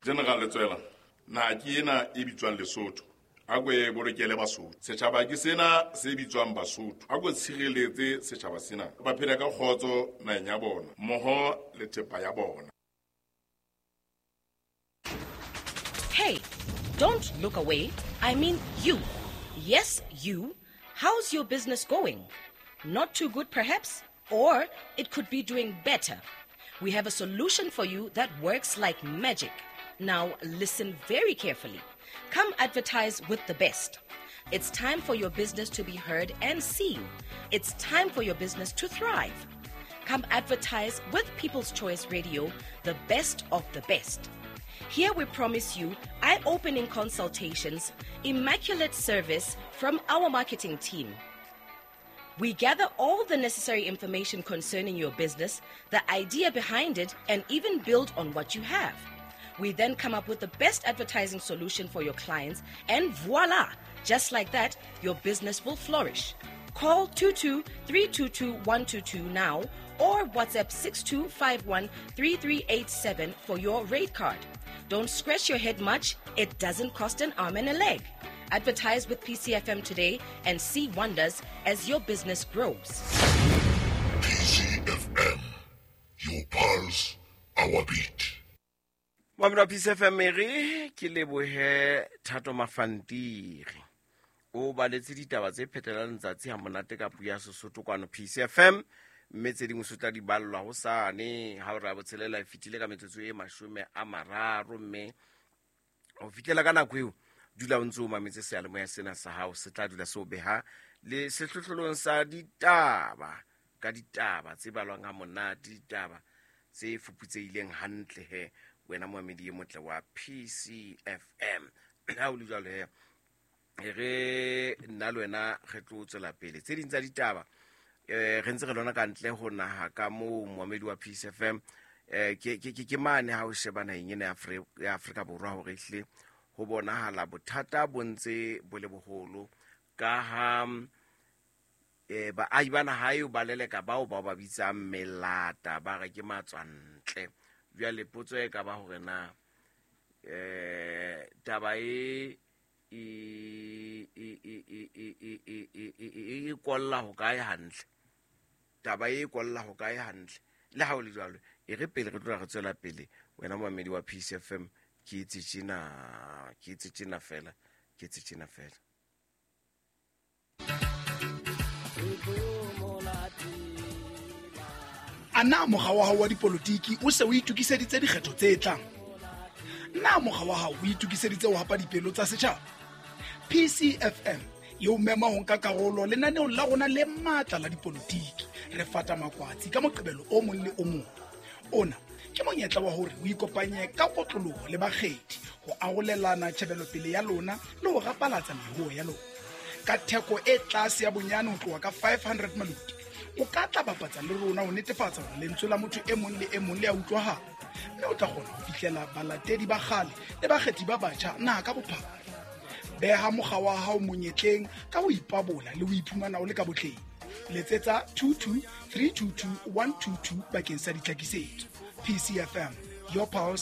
General Letswela, naha ke ena e bitswang Lesotho. A ko e bolokele Basotho. Setjhaba ke sena se bitswang Basotho. A ko tshireletse setjhaba sena. Ba phele ka kgotso naheng ya bona, mmoho le thepa ya bona. Hey, don't look away. I mean you. Yes, you. How's your business going? Not too good, perhaps? Or it could be doing better. We have a solution for you that works like magic. Now, listen very carefully. Come advertise with the best. It's time for your business to be heard and seen. It's time for your business to thrive. Come advertise with People's Choice Radio, the best of the best. Here we promise you eye opening consultations, immaculate service from our marketing team. We gather all the necessary information concerning your business, the idea behind it, and even build on what you have. We then come up with the best advertising solution for your clients, and voila! Just like that, your business will flourish. Call 22 322 122 now or WhatsApp 6251 3387 for your rate card. Don't scratch your head much, it doesn't cost an arm and a leg. Advertise with PCFM today and see wonders as your business grows. PCFM, your pulse, our beat. Mamelo wa PCFM e re ke lebohe Thato Mafantiri. O baletse ditaba tse phetelang letsatsi ha monate ka puo ya Sesotho kwano PCFM mme tse dingwe se tla di ballwa hosane ha ora ya botshelela e fetile ka metsotso e 30 mme ho fihlela ka nako eo dula o ntse o mametse seyalemoya sena sa hao se tla dula se o beha le sehlohlolong sa ditaba ka ditaba tse balwang ha monate ditaba tse fuputsehileng hantle he wena moamedi e motle wa PCFM ha o le jwalo he e re nna le wena re tlo tswela pele tse ding tsa ditaba eh re ntse re lona ka ntle ho naha ka moo moamedi wa PCFM eh ke ke ke mane ha o sheba naheng ena ya Afrika Borwa hore ehlile ho bonahala bothata bo ntse bo le boholo ka ha eh baahi ba naha eo ba leleka bao ba ba bitsang melata ba re ke matswantle jwale potso e ka ba hore na eh taba e e e e e e e e e e e kolla ho kae hantle taba e kolla ho kae hantle le ha o le jwalo e re pele re tlola re tswela pele wena moamedi wa PCFM ke itse tjena ke itse tjena fela ke itse tjena fela. A na mokga wa hao wa dipolotiki o se o itokiseditse dikgetho tse tlang? Na mokga wa hao o itokiseditse ho hapa dipelo tsa setjhaba? PCFM e o mema ho nka karolo lenaneong la rona le matla la dipolotiki. Re fata makwatsi ka Moqebelo o mong le o mong. Ona ke monyetla wa hore o ikopanye ka kotloloho le bakgethi ho arolelana tjhebelopele ya lona le ho rapalatsa meruo ya lona. Ka theko e tlase ya bonyane ho tloha ka 500 maluti, o ka tla bapatsa le rona ho netefatsa hore lentswe la motho e mong le e mong le a utlwahala, mme o tla kgona ho fihlela balatedi ba kgale le bakgethi ba batjha naha ka bophara. Beha mokga wa hao monyetleng ka ho ipabola le ho iphumana o le ka botleng. Letsetsa 22 322 122 bakeng sa ditlhakisetso. PCFM, your pulse.